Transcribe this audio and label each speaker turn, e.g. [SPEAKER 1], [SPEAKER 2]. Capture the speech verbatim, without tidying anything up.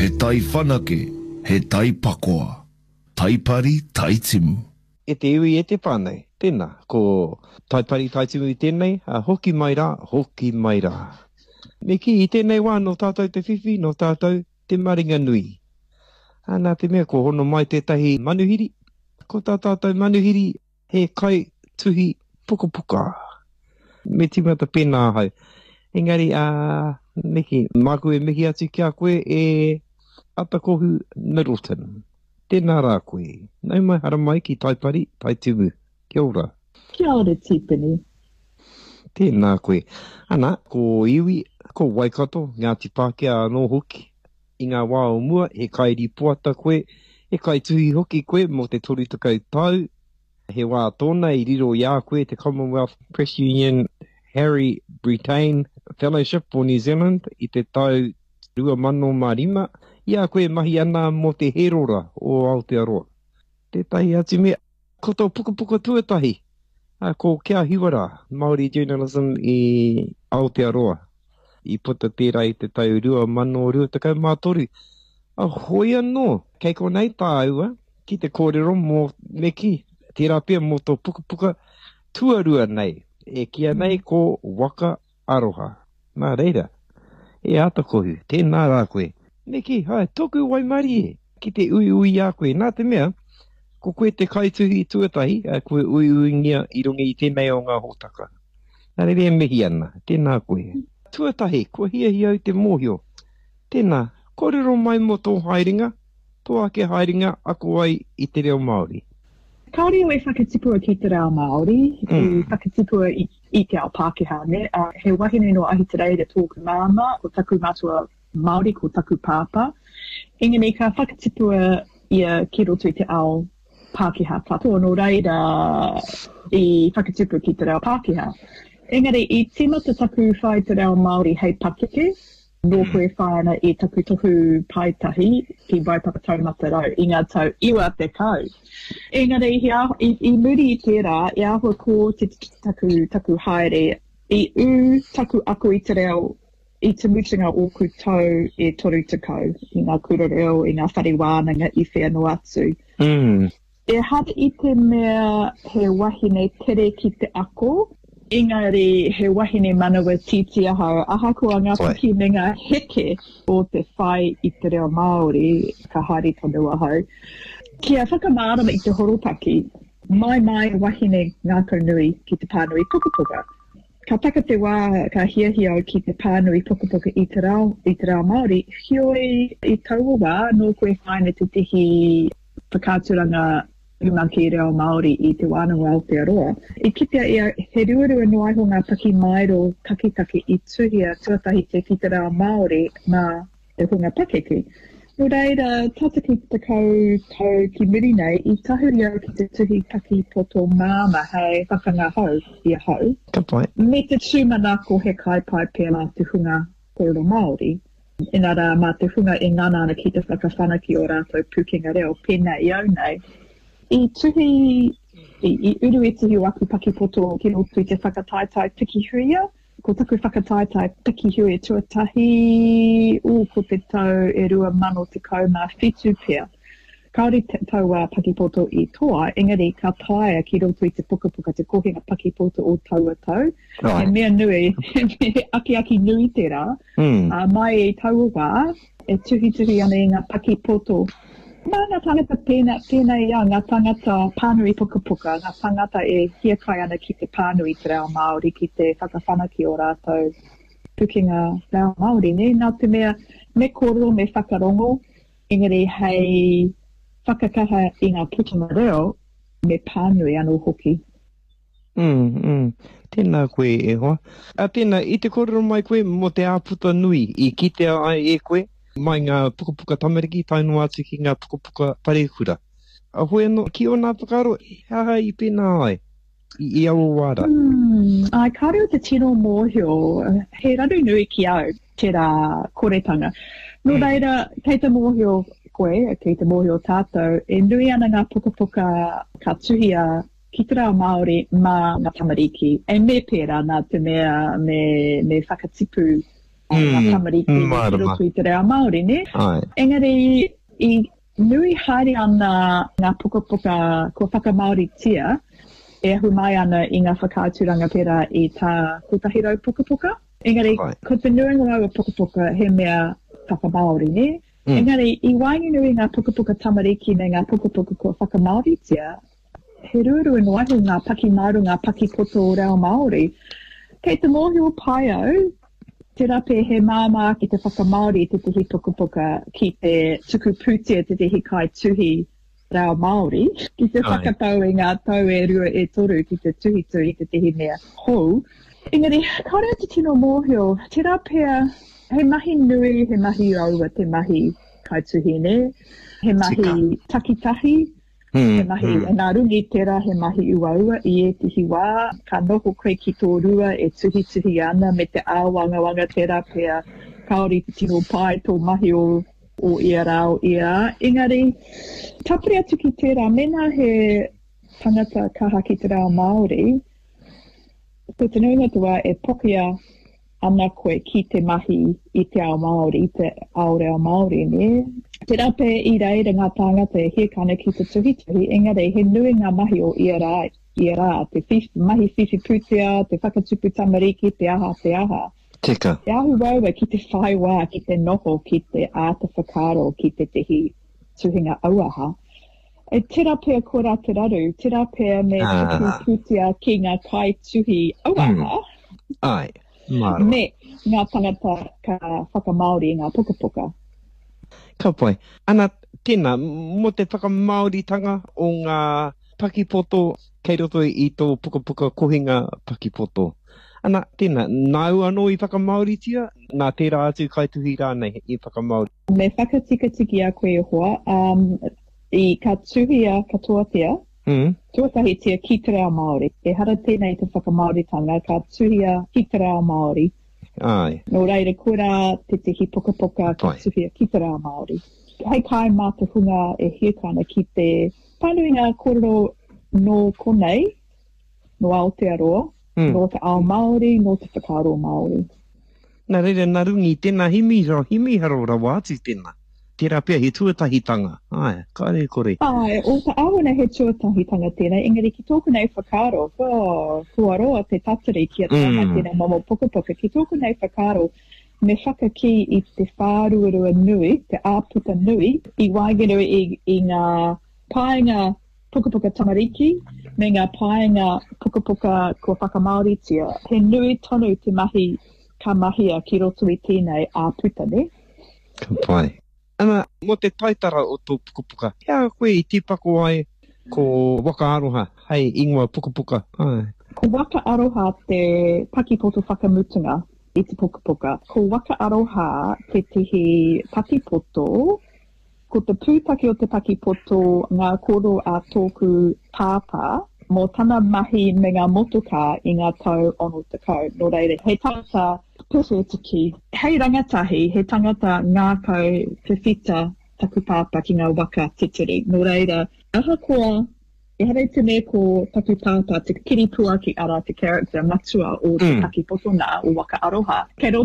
[SPEAKER 1] He tai whanake, he tai pakoa. Taipari, Taitimu.
[SPEAKER 2] E te iwi, e te whānau, tēnā, ko Taipari Taitimu tēnei, hoki mai rā, hoki mai rā. Me kī, i tēnei wā nō tātou te whiwhi, nō tātou te maringa nui. Ā, nā te mea kua hono mai tētahi manuhiri, ko tā tātou manuhiri he kai tuhi pukapuka. Me tīmata pēnā ahau. Engari, ā, me kī, māku e mihi atu ki a koe e Atakohu Middleton. Tēnā rā koe. Nau mai haramai ki Taipari, Taitimu. Kia ora.
[SPEAKER 3] Kia ora Tipene.
[SPEAKER 2] Tēnā koe. Ana, ko Iwi, ko Waikato, Ngāti Pākehā anō hoki. I ngā wā o mua, he kairipoata koe, he kaituhi hoki koe mō te toru tekau tau. He wā tōna i riro i a koe te Commonwealth Press Union Harry Brittain Fellowship for New Zealand i te tau rua mano mā rima, i a koe e mahi ana mō te Herora o Aotearoa. Tētahi atu mea, ko tō pukapuka tuatahi, ko Kia Hiwa Rā, Māori Journalism i Aotearoa. I puta tērā i te tau rua mano rua tekau mā toru. Hoi anō, kei konei tāua ki te kōrero mō, me kī, tērā pea mō tō pukapuka tuarua nei, e kīia nei ko Waka Aroha. Nā reira, e Atakohu, tēnā rā koe. Me kī, hai, tōku waimarie ki te uiui i a koe, nā te mea, ko koe te kaituhi tuatahi, kua uiuingia i runga i tēnei o ngā hōtaka. Nā reira e mihi ana, tēnā koe. Tuatahi, kua hiahia au te mōhio. Tēnā, kōrero mai mō tō haerenga, tō ake haerenga ako ai i te reo Māori.
[SPEAKER 3] Kāore au e whakatipua ki te reo Māori, i whakatipua i, i te ao Pākehā, nē. He wahine nō Ahitereiria tōku māmā, ko taku matua Māori, ko taku pāpā. Engari ka whakatipua ia ki roto i te ao Pākehā katoa, nō reira i whakatipu ki te reo Pākehā. Engari i tīmata taku whai te reo Māori hei pakeke, Nōku e whai ana i taku tohu paetahi ki Waipapa Taumata Rau i ngā tau iwa tekau. Engari he āhua, i, i muri i tērā, e āhua kōtiti taku, taku haere, i ū taku ako i te reo i te mutunga ōku tau e toru tekau i ngā kura reo, i ngā whare wānanga i whea noa atu.
[SPEAKER 2] Mm.
[SPEAKER 3] Ehara i te mea he wahine tere ki te ako, engari he wahine manawa tītī ahau, ahakoa ngā piki me ngā heke o te whai i te reo Māori, ka haere tonu ahau. Kia whakamārama i te horopaki, mai mai wahine ngākau nui ki te pānui pukapuka. Ka taka te wā ka hiahia au ki te pānui pukapuka i te reo, i te reo Māori, heoi i taua wā nōku e whai ana tētehi whakaaturanga rumaki reo Māori i Te Wānanga o Aotearoa. I kitea ia he ruarua noa iho ngā pakimaero taketake i tuhia tuatahitia ki te reo Māori mā te hunga pakeke. Nō reira, tata ki te tekau tau ki muri nei, i tahuri au ki te tuhi paki poto māmā hei whakangahau i ahau.
[SPEAKER 2] Ka pai.
[SPEAKER 3] Me te tūmanako he kai pai pea mā te hunga kōrero Māori. Inarā, mā te hunga e ngana ana ki te whakawhanake ō rātou pūkenga reo, pēnā i au nei. I tuhi, i, i uru ētahi o aku pakipoto ki roto i te whakataetae Pikihuia. Ko taku whakataetae Pikihuia tuatahi, ū, ko te tau e rua mano tekau mā whitu pea. Kāore taua pakipoto i toa, engari ka taea ki roto i te pukapuka te kohinga pakipoto o taua tau. He mea nui, he akiaki nui tērā.
[SPEAKER 2] Mm.
[SPEAKER 3] Uh, mai i taua wā, e tuhituhi ana i ngā pakipoto. Mā ngā tāngata pēnā, pēnā i au, ngā tāngata pānui pukapuka, ngā tāngata e hiakai ana ki te pānui te reo Māori, ki te whakawhanake o rātou pukenga reo Māori, nē? Nā te mea, me kōrero, me whakarongo, Engari hei whakakaha i ngā putanga reo, me pānui anō hoki.
[SPEAKER 2] Mm, mm. Tēnā koe e hoa. A tēnā, i te kōrero mai koe mō te āputa nui i kitea ai e koe mai ngā pukapuka tamariki tae noa atu ki ngā pukapuka parekura. A hoi anō, ki ōna whakaaro, he aha i pēnā ai i aua wā rā?
[SPEAKER 3] Mm, āe, kāore au te tino mōhio, he raru nui ki au tērā koretanga. Nō reira, kei te mōhio koe, kei te mōhio tātou, e nui ana ngā pukapuka ka tuhia ki te reo Māori mā ngā tamariki. E me pērā nā te mea me, me whakatipu mm, ngā tamariki ki roto i te reo Māori, nē?
[SPEAKER 2] Ai.
[SPEAKER 3] Engari, i nui haere ana ngā pukapuka kua whakamāoritia e ahu mai ana i ngā whakaaturanga pērā i tā Kotahi Rau Pukapuka. Engari,
[SPEAKER 2] Ai.
[SPEAKER 3] ko te nuinga o aua pukapuka he mea whakamāori, nē?
[SPEAKER 2] Mm.
[SPEAKER 3] Engari, i waenganui i ngā pukapuka tamariki me ngā pukapuka kua whakamāoritia, he ruarua noa iho ngā pakimaero, ngā pakipoto reo Māori. Kei te mōhio pai au, tērā pea he māmā ake te whakamāori i tētahi pukapuka ki te tuku pūtea tētahi kaituhi reo Māori, ki te
[SPEAKER 2] Ai.
[SPEAKER 3] whakatau i ngā tau e rua e toru ki te tuhituhi i tētahi mea hou. Engari, kāore au te tino mōhio, tērā pea he mahi nui, he mahi uaua te mahi kaituhi, nē? He mahi
[SPEAKER 2] Tika.
[SPEAKER 3] takitahi,
[SPEAKER 2] Mm,
[SPEAKER 3] he mahi
[SPEAKER 2] mm.
[SPEAKER 3] nā runga i tērā he mahi uaua i ētehi wā, ka noho koe ki tō rua e tuhituhi ana me te āwangawanga tērā pea kāore i te tino pai tō mahi o, o ia rā, o ia rā. Engari, tāpiri atu ki tērā, mēnā he tangata kaha ki te reo Māori, ko te nuinga o te wā e pokia ana koe ki te mahi i te ao Māori, i te ao reo Māori, nē? Tērā pea i reira ngā tāngata e hiahia ana ki te tuhituhi, engari he nui ngā mahi o ia rā, ia rā, te whiwhi, mahi whiwhi pūtea, te whakatupu tamariki, te aha, te aha.
[SPEAKER 2] Tika.
[SPEAKER 3] Te ahu uaua ki te whai wā, ki te noho, ki te āta whakaaro, ki tētehi tuhinga auaha. E tērā pea koirā te raru, tērā pea me tuku
[SPEAKER 2] Ah.
[SPEAKER 3] pūtea ki ngā kaituhi auaha,
[SPEAKER 2] Mm. Ai, mārama.
[SPEAKER 3] me ngā tangata ka whakamāori i ngā pukapuka.
[SPEAKER 2] Ka pai. Ana, tēnā, mō te whakamāoritanga o ngā pakipoto kei roto i tō pukapuka kohinga pakipoto. Ana, tēnā, nāu anō i whakamāoritia, nā tērā atu kaituhi rānei i whakamāori?
[SPEAKER 3] Me whakatikatiki a koe e hoa, um, i ka tuhia katoatia,
[SPEAKER 2] Mm.
[SPEAKER 3] tuatahitia ki te reo Māori. Ehara tēnei te whakamāoritanga, ka tuhia ki te reo Māori.
[SPEAKER 2] Ai.
[SPEAKER 3] Nō reira, koirā tētehi pukapuka ka
[SPEAKER 2] Pai.
[SPEAKER 3] tuhia ki te reo Māori. Hei kai mā te hunga e hiahia ana ki te pānui ngā kōrero nō konei, nō Aotearoa,
[SPEAKER 2] Mm.
[SPEAKER 3] nō te ao Māori, nō te whakaaro Māori.
[SPEAKER 2] Nā reira, nā runga i tēnā himiharo, himiharo rawa atu tēnā. Tērā pea he tuatahitanga. Ai, kāre kore.
[SPEAKER 3] Ai, o te āhuna he tuatahitanga tēnei, engari ki tōku nei whakaaro, oh, kua roa te tatari kia tae mai
[SPEAKER 2] Mm.
[SPEAKER 3] tēnei momo pukapuka. Ki tōku nei whakaaro, me whakakī i te whāruarua nui, te āputa nui, i waenganui i, i ngā paenga pukapuka tamariki me ngā paenga pukapuka kua whakamāoritia. He nui tonu te mahi ka mahia ki roto i tēnei āputa, ne?
[SPEAKER 2] Ka pai. Ana, mō te taitara o tō pukapuka, he aha koe i tīpako ai ko Waka Aroha hei ingoa pukapuka? Ai.
[SPEAKER 3] Ko Waka Aroha te pakipoto whakamutunga i te pukapuka. Ko Waka Aroha tētehi pakipoto, ko te pūtake o te pakipoto ngā kōrero a tōku pāpā mō tana mahi me ngā motokā i ngā tau ono tekau. Nō reira, he tangata pewhetiki. Hei rangatahi, he tangata ngākau pewhita taku pāpā ki ngā waka titiri. Nō reira, ahakoa, ehara i te mea ko taku pāpā te kiripuaki arā te character matua o te
[SPEAKER 2] Mm.
[SPEAKER 3] pakipoto nā, o Waka Aroha. Kei roto